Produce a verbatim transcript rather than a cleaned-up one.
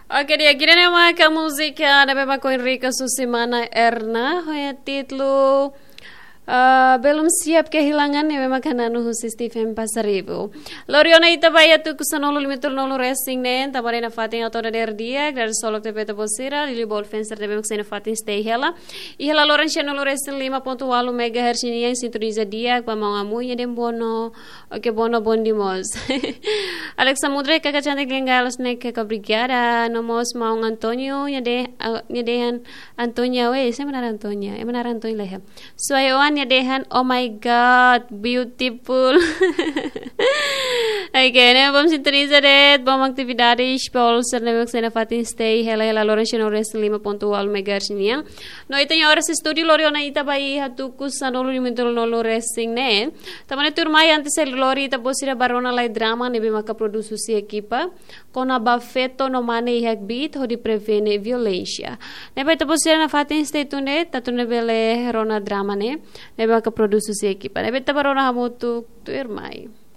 Oke, di'ak, ida-ne'e maka múzika ne'ebé mak ohin Rika Susi Mana Erna, ho títulu, ah, Belum Siap Kehilangan, ne'ebé maka hananu husi Stephen Pasaribu. Lori ona ita ba iha tuku sanulu lima tolu nulu resin neen, tanba ne'e nafatin hato'o dadeer di'ak, dadeer-solok tebes ba ita-boot sira, liuliu ba ita-boot sira ne'ebé mak sei nafatin stay hela. Iha laloran cento nulu resin lima ponto ualu megahertz nian, sintoniza di'ak ba maun Amu nia dehan bono, oke, bono bondi mós. Alex Samudra, kaka cantik linda, los nek, kaka obrigada. No mós maun Antonio, nia dehan, ah, nia dehan Antonia, weh, sé mak naran Antonia, ema naran Antonia lah ya. Suai Oan nia dehan, "Oh my God, beautiful." Oke, ne'e bom sintoniza de'it, bom atividades, ba ita-boot sira ne'ebé mak sei nafatin stay hela iha laloran cento nulu resin lima ponto ualu megahertz nian. No ita-nia oras estúdiu lori ona ita ba iha tuku sanulu lima tolu nulu resin neen. Tanba ne'e tuirmai, antes lori ita-boot sira bá rona lai drama ne'ebé maka produs husi ekipa, kona-ba feto no mane iha kbiit hodi prevene violénsia. Ne'ebé ita-boot sira nafatin stay tuned, atu nune'e bele rona drama ne'e, ne'ebé maka produs husi ekipa. Ne'ebé ita bá rona hamutuk tuirmai.